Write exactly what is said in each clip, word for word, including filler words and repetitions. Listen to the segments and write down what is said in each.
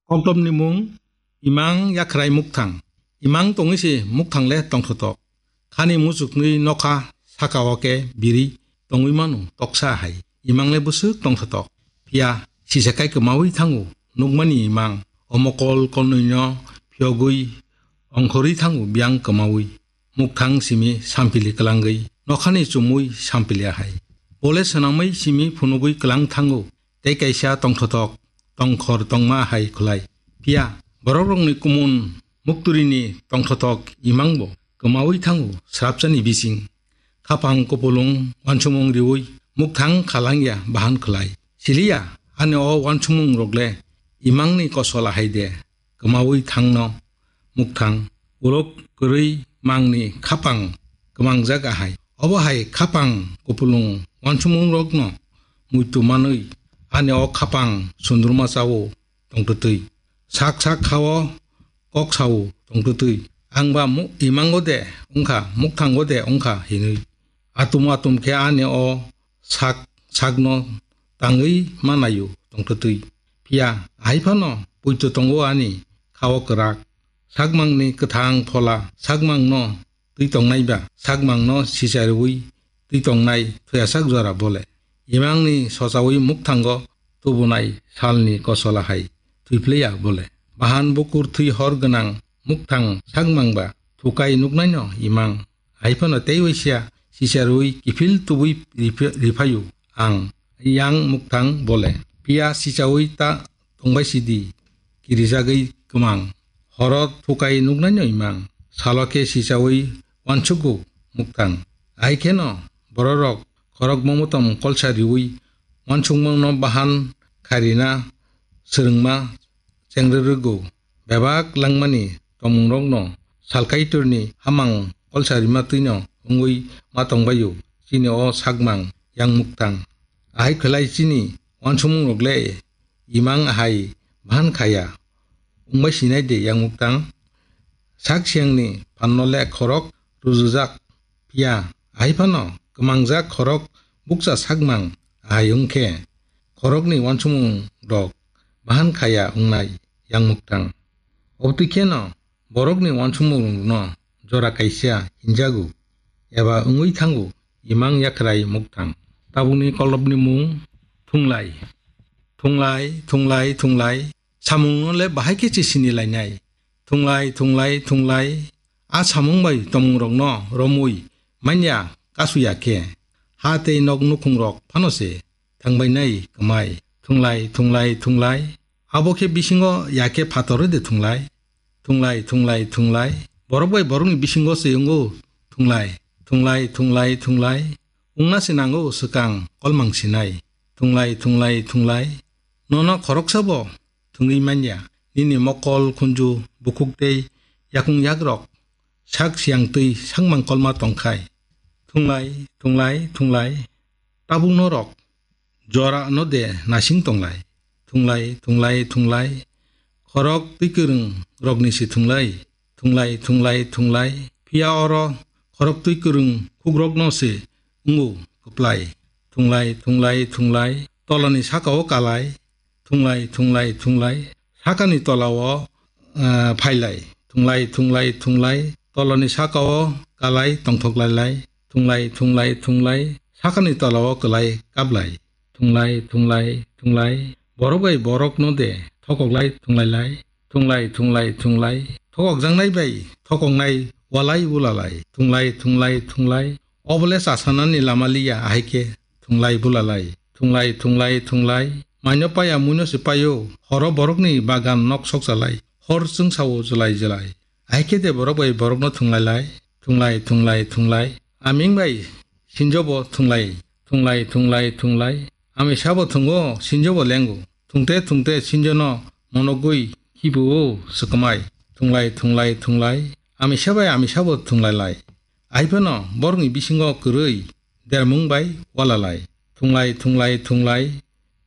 Koklopni mung Imang Yakhrai Mukthang. Imang tongwi se mukthang le tongthotok. Khani muchuknwi nokha saka o khe biri tongwi mano toksa hai. Imang le bwswk tongthotok. Phiya sisa kai kwmawi thango nukmani imang. O mokol kolnwino phiyogwi ongkhorwi thango biyang kwmawi. Mukthang simi sampili kwlangwi nokhani chumui sampili ahai. Bole swnamwi simi phunugwi kwlang thango. Tei kaisa tongthotok tongkhor tongma hai khwlai. Phiya borokrokni kumun mukturini tongthotok imangbo kwmawi thango srapsani bising. Khapang kupulung wansukmung riwi mukthang khalangya bahan khwlai. Siliya ani o wansukmung rokle imangni kosol ahai de. Kwmawi thangno mukthang. Ulok kwrwi mangni khapang kwmangjak ahai. Obo hai khapang kupulung wansukmungrokno muitu manwi ani o khapang sundurma chao tongtwtwi. Sak sak khao kok sao tongtwtwi. Ang ba mu-, imango de wngkha, mukthango de wngkha hinwi. Atum atum khe ani o sak sakno tangwi manayo tongtwtwi. Phiya hai phano poito tongo ani khao kwrak. Sakmangni kwthang phola sakmangno twi tongnai ba sakmangno sicharwi twi tongnai thoyasak jora bole. Imangni sochawi mukthango tubunai salni kosola hai thwiphliya bole. Bahan bukur thwi hor gwnang mukthang sakmang ba thukai nuknaino imang. Hai phano tei waisa sicharwi kiphil tubui riph-, riphaio ang yang mukthang bole. Phiya sichawi ta tongbai sidi kirijagwi kwmang. Horo thukai nuknaino imang. Salo khe sichawi wansugo mukthang. Hai kheno bororok khorok momotom kolsa riwi wansukmungno bahan khairina swrwngma chengrwrwgo. Bebak langmani tongmungrokno salkaitorni hamang kolsa rima twino wngwi ma tongbaio chini o sakmang yang mukthang. Ahai khwlai chini wansukmungrok le imang ahai bahan khaya wngbai sinai de yang mukthang. Sak siyangni phanno le khorok rujujak. Phiya hai phano kwmangjak khorok bukcha sakmang ahai wngkhe khorokni wansukmung rok bahan khaya wngnai yang mukthang. Obotwi kheno borokni wansukmung rokno jora kaisa hinjago eba wngwi thango imang yakhrai mukthang. Tabukni kolopni mung thunglai. Thunglai, thunglai, thunglai. Samungno le bahai khe chisini lainai. Thunglai, thunglai, thunglai. A samung bai tomung rokno romwi manya kasuya khe. Ha tei nok nukhung rok phano se thangbai nai kwmai. Thunglai, thunglai, thunglai. Abo khe bisingo ya khe phator de thunglai. Thunglai, thunglai, thunglai. Borok bai borokni bisingo se wngo thunglai. Thunglai, thunglai, thunglai. Wngna se nango swkang kolmang sinai. Thunglai, thunglai, thunglai. Nono khoroksa bo thwngwi manya. Nini mokol, khunju, bukhuk tei yakung yakrok sak siyang twi sakmang kolma tongkhai. Thunglai, thunglai, thunglai. Tabuk norok jora no de nasing tonglai. Thunglai, thunglai, thunglai. Khorok twi kwrwng rokni se thunglai. Thunglai, thunglai, thunglai. Phiya oro khorok twi kwrwng khukrokno se wngo kwplai. Thunglai, thunglai, thunglai. Tolani sakao kalai. Thunglai, thunglai, thunglai. Sakani tolao, ah, phailai. Thunglai, thunglai, thunglai. Tolani sakao kalai tongthok lailai. Thunglai, thunglai, thunglai. Sakani tolao kwlai kaplai. Thunglai, thunglai, thunglai. Borok bai borokno de thokoklai thunglailai. Thunglai, thunglai, thunglai. Thokokjaknai bai thokoknai walai bulalai. Thunglai, thunglai, thunglai. Obole chasanani lama liya ahai khe thunglai bulalai. Thunglai, thunglai, thunglai. Maino paya muino se paio. Horo borokni bagan nok sokchalai. Hor chwngsao jwlai jwlai. Ahai khe de borok bai borokno thunglailai. Thunglai, thunglai, thunglai. Aming bai sinjobo thunglai. Thunglai, thunglai, thunglai. Amisa bo thungo, sinjobo lengo. Thungte thungte sinjono monogwi khibuo swkmai. Thunglai, thunglai, thunglai. Amisa bai amisa bo thunglailai. Ahai phano borokni bisingo kwrwi dermung bai walalai. Thunglai, thunglai, thunglai.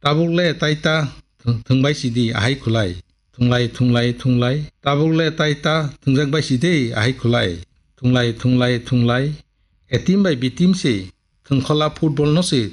Tabuk le tai ta thung-, thwngbai sidi ahai khwlai. Thunglai, thunglai, thunglai. Tabuk le tai ta thwngjak bai sidi ahai khwlai. Thunglai, thunglai, thunglai. Etim bai bitim se thwngkhola football no se